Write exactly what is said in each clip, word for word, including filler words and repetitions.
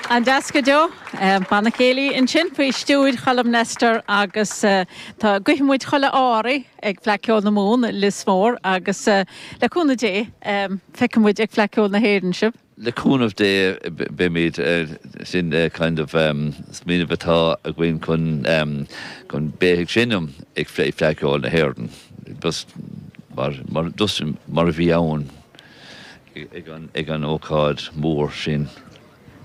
An-deas go deo banna céilí ansin faoi stiúir Cholm Nestor agus tá guífidh muid chuile ádh oraibh ag Fleadh Cheoil na Mumhan Lios Mór agus le cúnamh Dé feicfidh muid ag Fleadh Cheoil na hÉireann sibh. Le cúnamh Dé beimid sin kind of smaoineamh atá againn chun chun bheith ag seinm ag Fleadh Cheoil na hÉireann just mar mar just mar a bhí ann ag an ag an ócáid mór sin.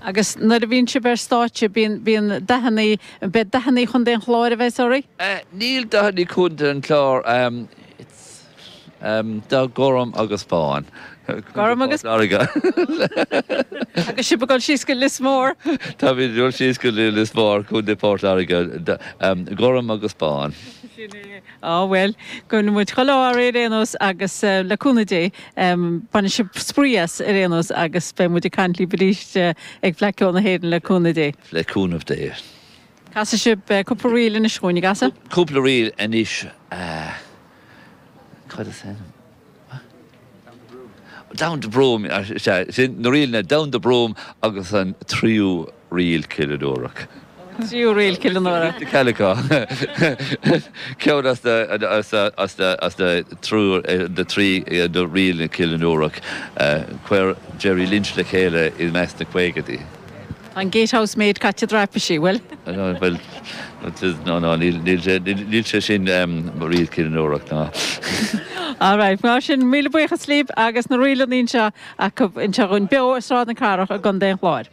Agus nuair a bhíonn sibh ar stáitse bíonn bíonn dathanna beidh dathanna Chontae an Chláir a bheas oraibh? Níl dathanna Chontae an Chláir dath gorm agus bán. Gorm agus Láirge. Agus sibh ag dul síos go Lios Mór. Táimid ag dul síos go Lios Mór Contae Port Láirge gorm agus bán. Sin é. Á bhuel, go muid chuile ádh ar aon nós agus le cúnamh Dé bainfidh sibh spraoi as ar aon nós agus beidh muid ag caint libh arís ag Fleadh Cheoil na hÉireann le cúnamh Dé. Le cúnamh Dé. Casfaidh sibh cúpla ríl anois chugainn, an gcasfaidh? Cúpla ríl anois Cad is ainm? Down to Broome sin na ríleanna Down the Broom agus an tríú ríl Cill an Uarach. Tríú ríl Cill an Uarach. Calico. Ceann as as as as na trú na trí na ríl Cill an Uarach chuir Jerry Lynch le chéile i measc na caogaidí. An Gatehouse Maid caite traipisí, bhfuil? Well no no níl sé sin ríl Cill an Uarach ná. All right, mar sin míle buíochas libh agus na ríleanna anseo acu anseo beo i Sráid na Cathrach i gContae an Chláir.